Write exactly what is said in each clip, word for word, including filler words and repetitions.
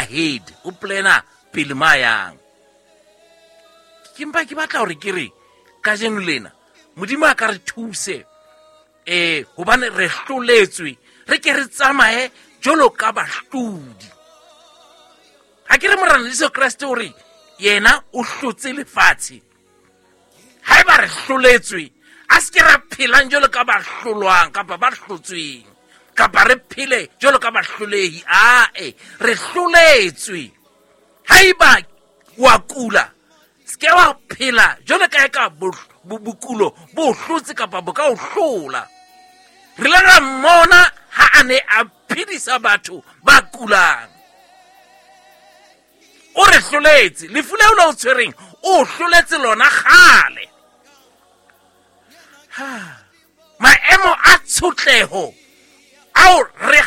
ahead, o plana pele ma yang. Ke mpa ke batla hore ke re kajeno lena Modimo a ka re thuse, eh hobane re hloletswe, re ke re tsamaye jwalo ka bahlodi. Ha ke re Morena Jesu Kreste o re yena o hlotse lefatshe. Haeba re hloletswe, a se ke ra phelang jwalo ka ba hlolwang kapa ba hlotsweng, kapa re phele jwalo ka bahlolehi. Ae, re hloletswe. Haeba wa kula, se ke wa phela jwalo ka e ka bokulo bo hlotse kapa bo ka o hlola. Re ile ra mmona ha a ne a phedisa batho ba kulang. O re hloletse. Lefu leo le o tshwereng, o hloletse lona kgale. Maemo a tshotleho ao re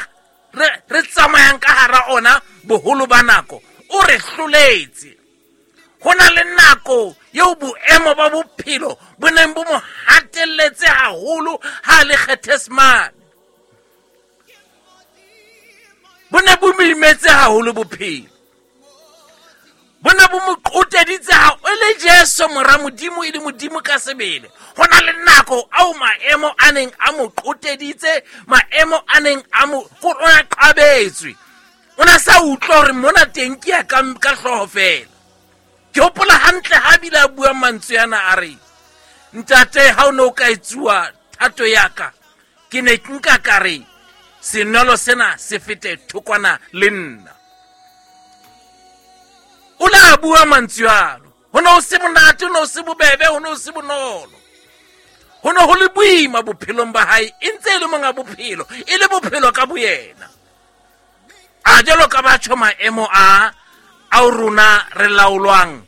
re re tsamayang ka hara ona boholo ba nako, o re hloletse. Ho na le nako eo boemo ba bophelo bo neng bo mo hatelletse haholo ha le Gethsemane. Bo ne bo mo imetse haholo bophelo. Bo ne bo mo qoteditse ha e le Jesu mora Modimo, e le Modimo ka sebele. Ho na le nako ao maemo a neng a mo qoteditse, maemo a neng a mo o na qabetswe. O na sa utlwa hore mona teng ke ya ka ka hlooho fela. Ke hopola hantle ha bile a bua mantswe ana a re, Ntate, ha o ne o ka etsuwa thato ya ka, ke ne ke nka ka re senwelo sena se fete thokwana le nna. O la bua mantswe ano. Ho ne ho se monate, ho ne ho se bobebe, ho ne ho se bonolo. Ho ne ho le boima bophelong ba hae, e ntse e le monga bophelo, e le bophelo ka boyena. A jwalo ka batho maemo a ao rona re laolwang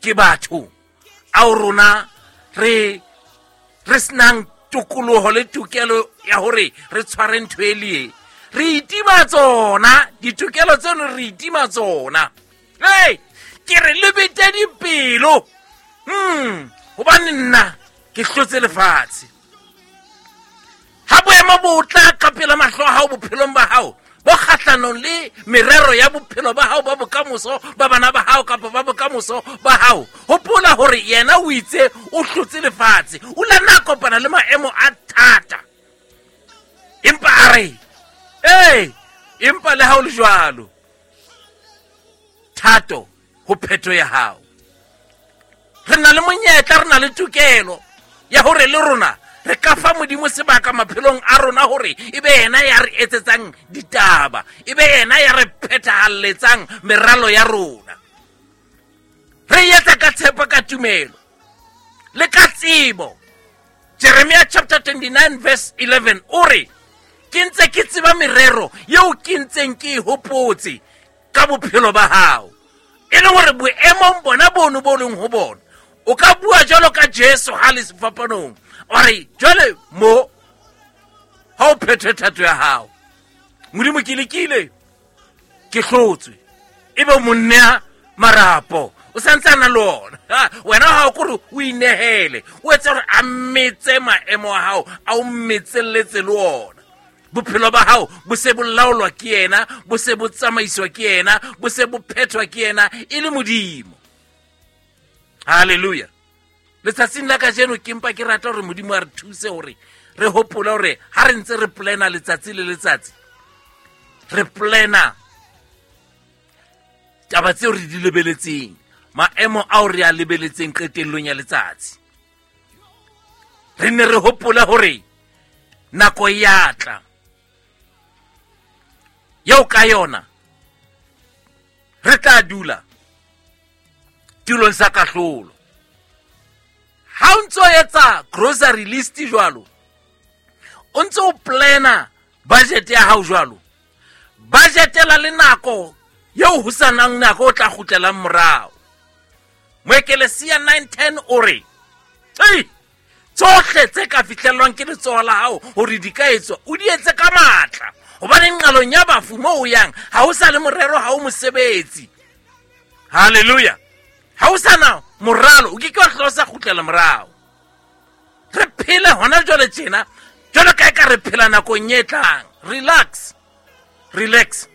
ke batho, ao rona re re senang tokoloho le tokelo ya hore re tshware ntho e le e. Re itima tsona, ditokelo tseno re itima tsona. Hey, ke re le bete dipelo. Hmm, hobane nna ke hlotse lefatshe. Ha boemo bo tla ka pela mahlo a hao bophelong ba hao, bo kgahlanong le merero ya bophelo ba hao ba bokamoso, ba bana ba hao kapa ba bokamoso ba hao, hopola hore yena o itse o hlotse lefatshe. O la na kopana le maemo a thata, empa a re ee, empa le ha o le jwalo, thato ho phetho ya hao. Re na le monyetla, re na le tokelo ya hore le rona re ka fa Modimo sebaka maphelong a rona hore e be yena ya re etsetsang ditaba, e be yena ya re phethahalletsang meralo ya rona. Re etsa ka tshepo, ka tumelo le ka tsebo. Jeremiah chapter twenty-nine verse eleven o re, ke ntse ke tseba merero eo ke ntseng ke e hopotse ka bophelo ba hao. E le hore boemong bona bono bo leng ho bona, o ka bua jwalo ka Jesu ha le sefapanong, o re jwale mo ha o phethe thato ya hao, Modimo ke lekile, ke hlotswe, ebe monnea marapo o santse a na le ona. Wena ha o kore o inehele, o etse hore a metse maemo a hao, a o metselletse le ona. Bophelo ba hao bo se bo laolwa ke yena, bo se bo tsamaiswa ke yena, bo se bo phethwa ke yena e le Modimo. Hallelujah. Letsatsing la kajeno ke mpa ke rata hore Modimo a re thuse hore re hopole hore ha re ntse re plana letsatsi le letsatsi, re plana taba tseo re di lebeletseng, maemo ao re a lebeletseng qetellong ya letsatsi. Re ne re hopole hore nako ya tla eo ka yona re tla dula tulong sa kahlolo. Ha o ntso etsa grocery list jwalo, o ntso o plana budget ya hao jwalo, budgetela le nako eo ho sa nang nako o tla kgutlelang morao. Moekelesia nine ten o re, ei, tsohle tse ka fihlellwang ke letsoho la hao hore di ka etswa, o di etse ka matla. Hobane nqalong ya bafu moo o yang, ha ho sa le morero, ha o mosebetsi. Hallelujah. Ha o sa na moralo, o ke ke wa hlola o sa kgutlela morao. Re phele hona jwale tjena, jwalo ka e ka re phela nakong e tlang. Relax, relax.